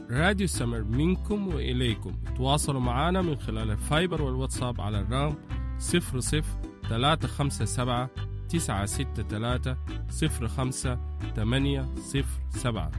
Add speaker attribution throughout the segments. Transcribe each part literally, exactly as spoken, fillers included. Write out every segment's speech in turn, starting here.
Speaker 1: راديو سمر منكم وإليكم. تواصلوا معنا من خلال الفايبر والواتساب على الرقم صفر صفر ثلاثة خمسة سبعة تسعة ستة ثلاثة صفر خمسة ثمانية صفر سبعة.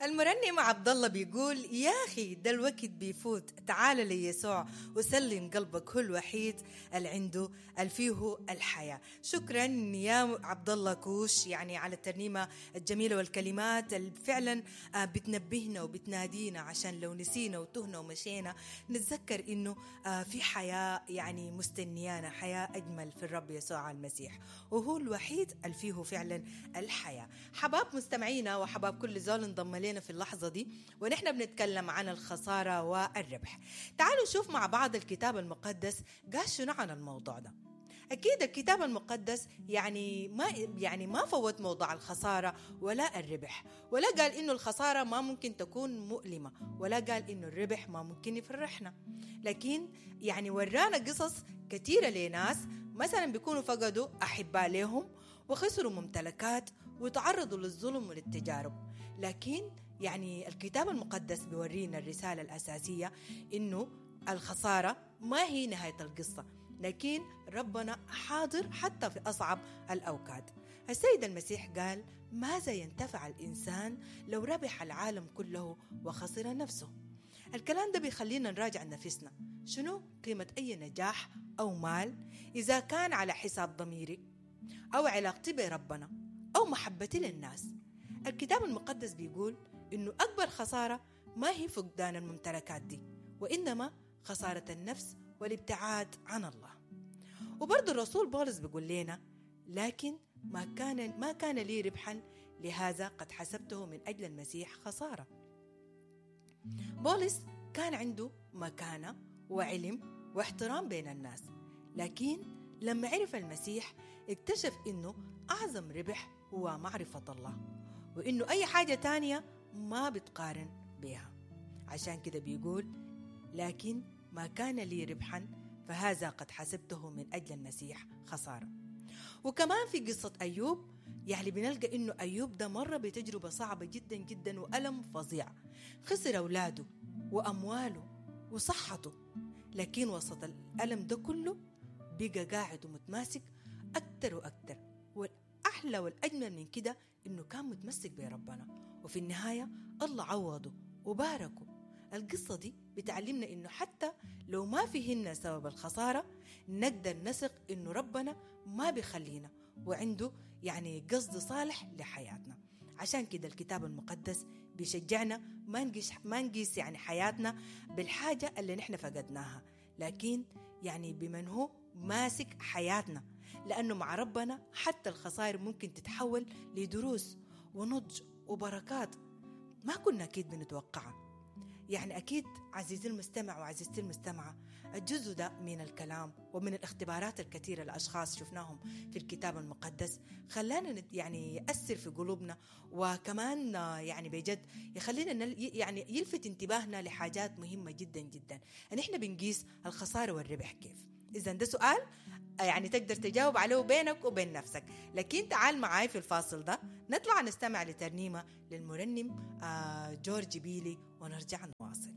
Speaker 2: المرنم عبد الله بيقول يا أخي ده الوقت بيفوت، تعال ليسوع وسلم قلبك، هو الوحيد اللي عنده الفيه الحياة. شكرا يا عبد الله كوش يعني على الترنيمة الجميلة والكلمات اللي فعلا بتنبهنا وبتنادينا عشان لو نسينا وتهنا ومشينا نتذكر إنه في حياة يعني مستنيانا، حياة أجمل في الرب يسوع المسيح، وهو الوحيد اللي فيه فعلا الحياة. حباب مستمعينا وحباب كل زول انضم لنا في اللحظة دي ونحن بنتكلم عن الخسارة والربح. تعالوا نشوف مع بعض الكتاب المقدس قال شنو عن الموضوع ده. أكيد الكتاب المقدس يعني ما يعني ما فوت موضوع الخسارة ولا الربح، ولا قال إنه الخسارة ما ممكن تكون مؤلمة، ولا قال إنه الربح ما ممكن يفرحنا، لكن يعني ورانا قصص كثيرة لناس مثلا بيكونوا فقدوا أحباء لهم وخسروا ممتلكات وتعرضوا للظلم وللتجارب، لكن يعني الكتاب المقدس بيورينا الرسالة الأساسية إنه الخسارة ما هي نهاية القصة، لكن ربنا حاضر حتى في أصعب الأوقات. السيد المسيح قال ماذا ينتفع الإنسان لو ربح العالم كله وخسر نفسه؟ الكلام ده بيخلينا نراجع نفسنا، شنو قيمة أي نجاح أو مال إذا كان على حساب ضميري أو علاقتي بربنا أو محبتي للناس؟ الكتاب المقدس بيقول إنه أكبر خسارة ما هي فقدان الممتلكات دي، وإنما خسارة النفس والابتعاد عن الله. وبرضو الرسول بولس بيقول لنا لكن ما كان ما كان لي ربحا لهذا قد حسبته من أجل المسيح خسارة. بولس كان عنده مكانة وعلم واحترام بين الناس، لكن لما عرف المسيح اكتشف إنه أعظم ربح هو معرفة الله، وإنه أي حاجة تانية ما بتقارن بها. عشان كده بيقول لكن ما كان لي ربحا فهذا قد حسبته من أجل المسيح خسارة. وكمان في قصة أيوب يعني بنلقى إنه أيوب ده مر بتجربة صعبة جدا جدا وألم فظيع، خسر أولاده وأمواله وصحته، لكن وسط الألم ده كله بقى قاعد ومتماسك أكتر وأكتر. والأحلى والأجمل من كده إنه كان متمسك بربنا، وفي النهاية الله عوضه وباركه. القصة دي بتعلمنا إنه حتى لو ما فيهن سبب الخسارة نقدر نثق إنه ربنا ما بيخلينا وعنده يعني قصد صالح لحياتنا. عشان كده الكتاب المقدس بيشجعنا ما نقيس ما نقيس يعني حياتنا بالحاجة اللي نحن فقدناها، لكن يعني بمن هو ماسك حياتنا، لأنه مع ربنا حتى الخسائر ممكن تتحول لدروس ونضج وبركات ما كنا أكيد بنتوقعها. يعني أكيد عزيزي المستمع وعزيزتي المستمعة الجزء ده من الكلام ومن الاختبارات الكثيرة لأشخاص شفناهم في الكتاب المقدس خلانا يعني يأثر في قلوبنا، وكمان يعني بجد يخلينا يعني يلفت انتباهنا لحاجات مهمة جدا جدا. نحن بنقيس الخسارة والربح كيف؟ إذن ده سؤال يعني تقدر تجاوب عليه بينك وبين نفسك، لكن تعال معاي في الفاصل ده نطلع نستمع لترنيمة للمرنم جورج بيلي ونرجع نواصل.